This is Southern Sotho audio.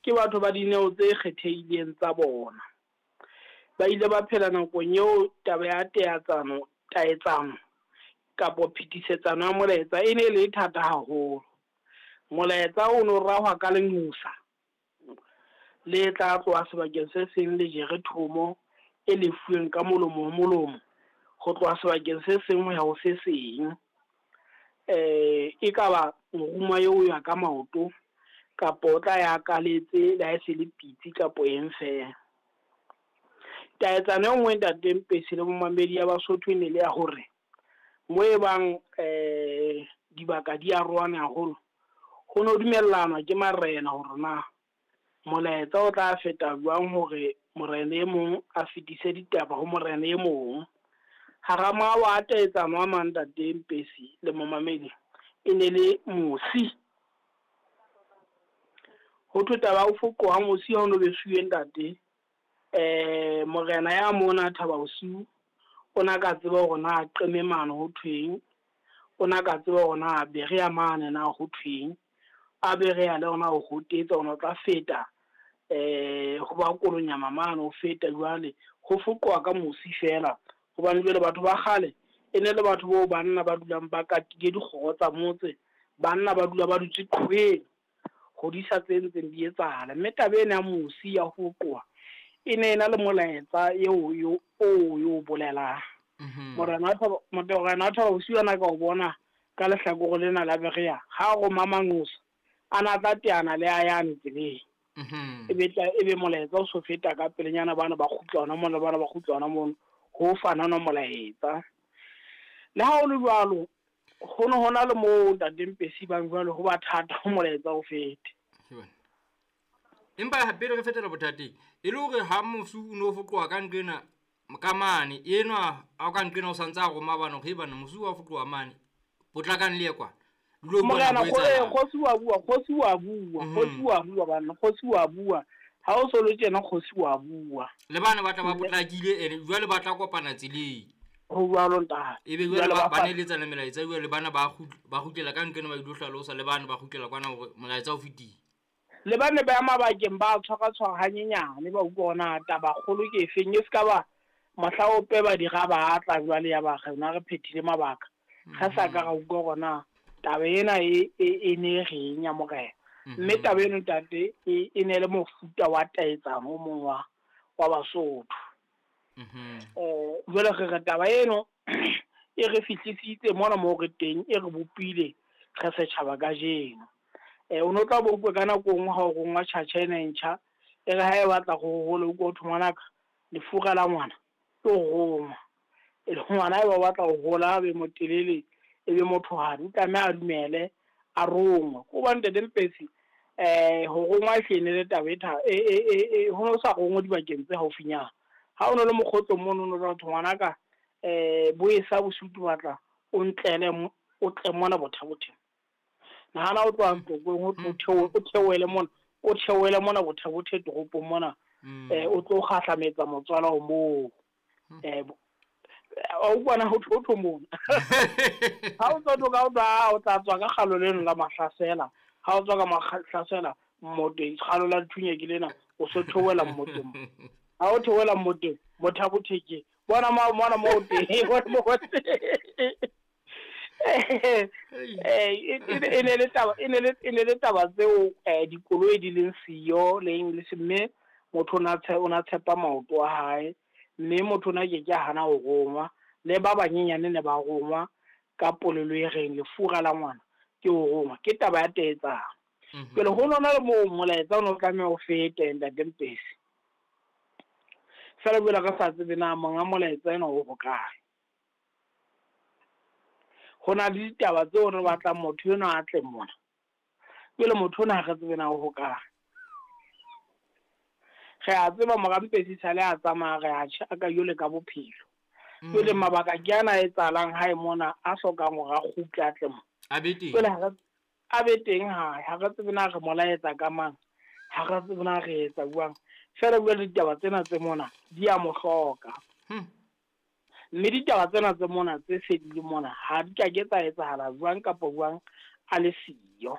Ke batho ba dineo tse kgethehileng tsa bona. Ba ile ba phela nakong eo taba ya teatsano, taetsano kapo phetisetsano ya molaetsa e ne e le thata haholo. Molaetsa o no rahwa ka lenqosa le tla tloha sebakeng se seng le jere thomo e lefuweng ka molomo ho molomo ho tloha sebakeng se seng ho ya ho se seng. E ka ba moruma eo o ya ka maoto kapa o tla ya kaletse le ha e se le pitsi kapo eng fela. Taetsano e nngwe ntate Mpesi le momamedi ya Basotho e ne le ya hore mo e bang dibaka di arohane haholo, ho no dumellanwa ke marena hore na molaetsa o tla feta jwang hore morena e mong a fetise ditaba ho morena e mong. Hara mawa a taetsano a mang ntate Mpesi le momamedi e ne le mosi. Ho thwe taba ya ho foqoha mosi ha o no besuwe ntate, morena ya mona Thaba Bosiu o na ka tseba hore na qeme mane ho thweng, o na ka tseba hore na Berea mane na ho thweng, a Berea le ona ho hotetsa ona o tla feta ho ba Kolonyama mane ho feta jwale ho foqoha ka mosi fela. Hobane jwale batho ba kgale e ne le batho boo banna ba dulang ba katile dikgoro tsa motse, banna ba dula ba dutse qhoweng ho disa tse ntseng di etsahala. Mme taba ena ya mosi ya ho foqoha e ne e na le molaetsa eo yo o yo bolelang. Morena wa Thaba Bosiu ana ka o bona ka lehlakore lena la Berea ha roma manqosa a na tla teana le a yane tseleng. E be molaetsa o so feta ka pelenyana, bana ba kgutla hona mona, bana ba kgutla hona mono, ho fanana molaetsa. Le ha o le jwalo, ho ne hona le moo ntate Mpesi bang jwalo ho ba thata ho molaetsa o fete. Empa pele re fetela bothateng, e le hore ha mosu o no foqoha ka nqena ka mane, enwa a ka nqena o santse a roma bana hore bana mosu wa foqoha mane, potlakang le ye kwana. Morena kgosi wa bua, kgosi wa bua, kgosi wa bua bana, kgosi wa bua. Ha o so le tjena kgosi wa bua. Le bana ba tla ba potlakile ene jwale ba tla kopana tseleng. Ho jwalo ntate. Ebe jwale ba neletsa le melaetsa jwale bana ba kgutlela ka nqena ba ilo hlalosa le bana ba kgutlela kwana hore molaetsa o fetile. Le bane ba ya mabakeng ba tshwara hanyenyane ba utlwa ona taba kgolo ke efeng, e ska ba mohla o peba dira ba tla jwale ya ba rena re phethile mabaka. Ga sa ka ra utlwa hore taba ena e ne reng ya morena. Mme taba eno ntate e ne le mofuta wa taetsano o mong wa Basotho. Jwale re re taba eno e re fihlisitse mona moo re teng, e re bopile re setjhaba kajeno. O no tla bo utlwe ka nako nngwe ha o rongwa tjhatjha ena e ntjha, e re ha e batla ho hola o utlwe ho thwe ngwanaka lefura la ngwana ke ho rongwa. E le ngwana ha eba o batla ho hola a be motelele, e be mothohadi, o tlameha a dumele a rongwe. Ko hobane ntate Mpesi ho rongwa e ne le taba e ho no sa rongwe dibakeng tse haufinyana. Ha o no le mokgotso mono no tla thwe ngwanaka bo e sa bosiu ke batla o ntlele o tle mona Botha-Bothe. Nahana o tloha Tlokweng o theohele mona, o theohele mona Botha-Bothe toropong mona, o tlo kgahlametsa motswala o moo. O utlwana ho thotho mona. Ha o tswa ka o tla tswa ka kgalo leno la Mahlasela, ha o tswa ka Mahlasela mmoteng, kgalo la Dithunya ke lena, o so theohela mmoteng. Ha o theohela mmoteng, Botha-Bothe ke bona mona mo teng, bona mo teng. E ne le taba, e ne le taba tseo dikoloi di leng siyo le eng le se, mme motho o na tshepa maoto a hae, mme motho ona ke ke hana ho rongwa, le ba banyenyane ne ba rongwa ka polelo e reng lefura la ngwana ke ho rongwa, ke taba ya taetsano. Jwale ho nona le moo molaetsa o no tlameha o fete ntate Mpesi. Feela jwale re sa tsebe na monga molaetsa ena o hokae. Ho na le ditaba tseo re batlang motho enwa a tle mona. Jwale motho ona ha re tsebe na o hokae. Re a tseba mora Mpesi sale a tsamaya re a tjha ka jwale ka bophelo. Jwale mabaka ke ana a etsahalang hae mona a hlokang hore a kgutle a tle mona. A be teng. Jwale a be teng hae, ha re tsebe na re molaetsa ka mang, ha re tsebe na re etsa jwang. Feela jwale ditaba tsena tse mona di a mo hloka. Mme ditaba tsena tse mona tse se di le mona ha di ka ke tsa etsahala jwang kapa jwang a le siyo.